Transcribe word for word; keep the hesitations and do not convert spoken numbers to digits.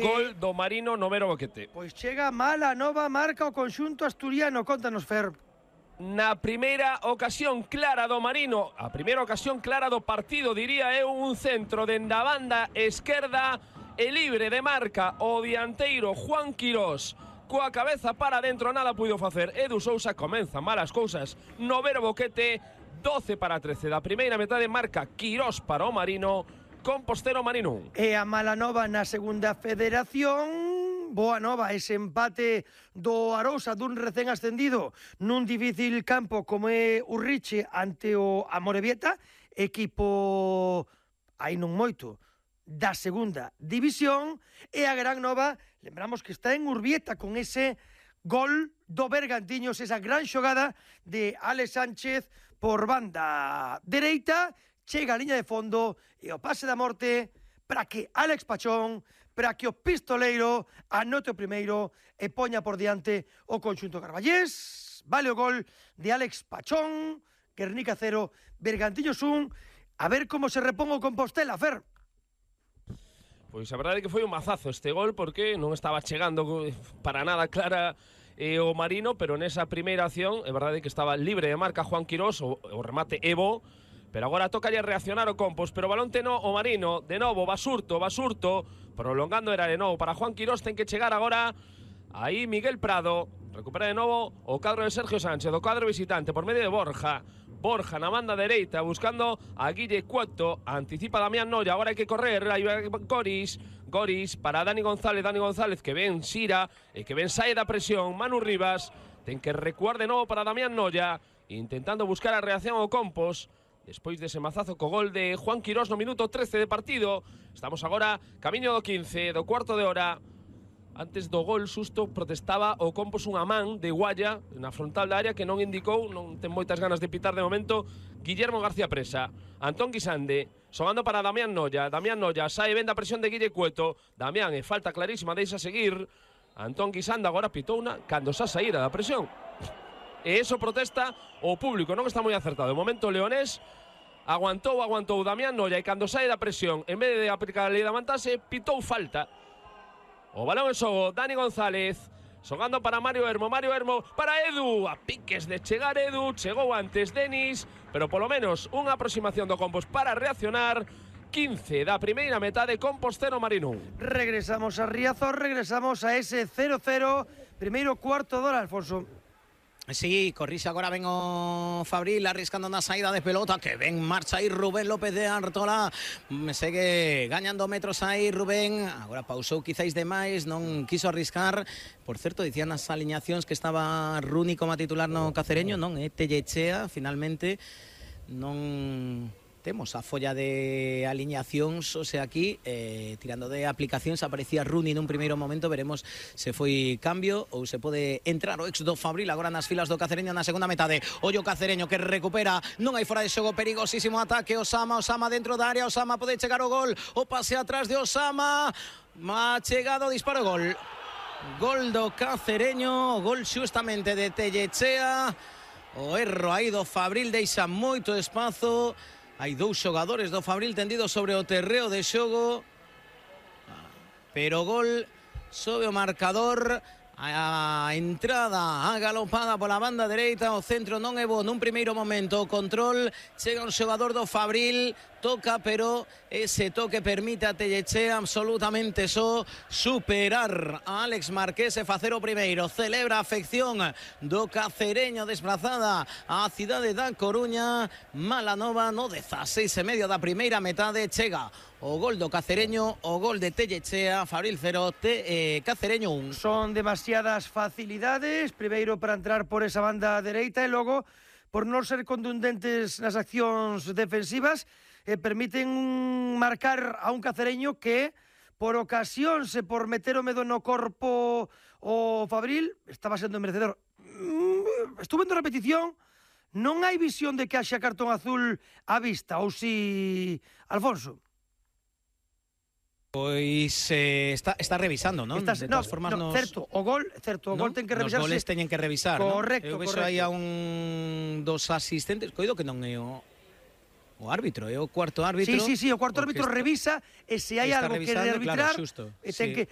Gol do Marino no Vero Boquete. Pois chega mala nova marca o conxunto asturiano. Contanos, Fer. Na primeira ocasión clara do Marino, a primeira ocasión clara do partido, diría eu, un centro dende a banda esquerda e libre de marca o dianteiro Juan Quirós. Coa cabeza para dentro, nada puido facer. Edu Sousa comeza malas cousas no Vero Boquete. doce para trece da primeira metade, marca Quirós para o Marino. Compostero Marino. E a mala nova na segunda federación. Boa nova, ese empate do Arousa dun recén ascendido nun difícil campo como é Urriche ante o Amorebieta, equipo aí non moito da segunda división. E a gran nova, lembramos que está en Urbieta con ese gol do Bergantiños, esa gran xogada de Alex Sánchez por banda dereita. Chega a liña de fondo e o pase da morte para que Alex Pachón, para que o pistoleiro anote o primeiro e poña por diante o conxunto carballés. Vale o gol de Alex Pachón, Guernica cero, Bergantiños un. A ver como se repón o Compostela, Fer. Pois a verdade é que foi un mazazo este gol, porque non estaba chegando para nada clara eh, o Marino, pero nesa primeira acción é verdade que estaba libre de marca Juan Quirós, o, o remate Evo. Pero agora tocalle reaccionar o Compos, pero balón teno o Marino, de novo, Basurto, Basurto, prolongando era de novo para Juan Quirós, ten que chegar agora aí Miguel Prado, recupera de novo o cadro de Sergio Sánchez, o cadro visitante por medio de Borja, Borja na banda dereita, buscando a Guille Cueto, anticipa Damián Noia, agora hai que correr, aí vai Goris, Goris para Dani González, Dani González que ven Xira, e que ven sae da presión, Manu Rivas, ten que recuar de novo para Damián Noia, intentando buscar a reacción ao Compos, despois dese mazazo co gol de Juan Quirós no minuto trece de partido. Estamos agora camiño do quince, do cuarto de hora. Antes do gol susto protestaba o Compos unha man de Guaya na frontal da área que non indicou, non ten moitas ganas de pitar de momento, Guillermo García Presa. Antón Guisande, xogando para Damián Noia. Damián Noia sae ben da presión de Guille Cueto. Damián, e falta clarísima, deixa seguir. Antón Guisande agora pitouna cando xa saíra da presión. E eso protesta o público, non está moi acertado. De momento Leonés aguantou, aguantou Damián Noia e cando sae da presión, en vez de aplicar a lei da mantase, pitou falta. O balón en xogo, Dani González, xogando para Mario Hermo, Mario Hermo para Edu, a piques de chegar Edu, chegou antes Denis, pero polo menos unha aproximación do Compos para reaccionar. quince da primeira metade, Compostero Marino. Regresamos a Riazor, regresamos a ese cero cero, primeiro cuarto de hora, Alfonso. Sí, corrixe agora ven o Fabril arriscando na saída de pelota, que ven marcha aí Rubén López de Artola, segue gañando metros aí Rubén, agora pausou quizáis demais, non quiso arriscar. Por certo, dicían nas aliñacións que estaba Runi como titular no Cacereño, non é Tellechea, finalmente non temos a folla de aliñacións, o sea, aquí eh, tirando de aplicacións aparecía Runi nun primeiro momento, veremos se foi cambio ou se pode entrar o ex do Fabril agora nas filas do Cacereño na segunda metade. Ollo Cacereño que recupera, non hai fora de xogo, perigosísimo ataque, Osama, Osama dentro da área, Osama pode chegar o gol, o pase atrás de Osama, má chegado, disparo, gol. Gol do Cacereño, gol xustamente de Tellechea, o erro aí do Fabril deixa moito espazo. Hai dous xogadores do Fabril tendidos sobre o terreo de xogo, pero gol sobe o marcador. A entrada agalopada pola banda dereita, o centro non é bo nun primeiro momento, o control, chega un xogador do Fabril, toca, pero ese toque permite a Tellechea absolutamente só superar a Alex Marqués e facer o primeiro. Celebra a afección do Cacereño desplazada á cidade da Coruña. Mala nova, no dezaseis e medio da primeira metade, chega o gol do Cacereño, o gol de Tellechea, Fabril cero, te, eh, Cacereño un. Son demasiadas facilidades, primeiro para entrar por esa banda dereita e logo por non ser contundentes nas accións defensivas, eh, permiten marcar a un Cacereño que por ocasións e por meter o medo no corpo o Fabril estaba sendo merecedor. Estuve vendo a repetición, non hai visión de que haxa cartón azul á vista, ou si, Alfonso? Pois eh, está, está revisando, non? Estás, de no, todas formas, no, nos, certo, o gol, certo, o ¿no? gol ten que revisarse. Os goles teñen que revisar, correcto, non? Eu vexo correcto. aí a un dos asistentes, coido que non é o o árbitro, é o cuarto árbitro. Sí, sí, sí, o cuarto árbitro está, revisa e se hai algo que de arbitrar, claro, xusto, e ten sí. que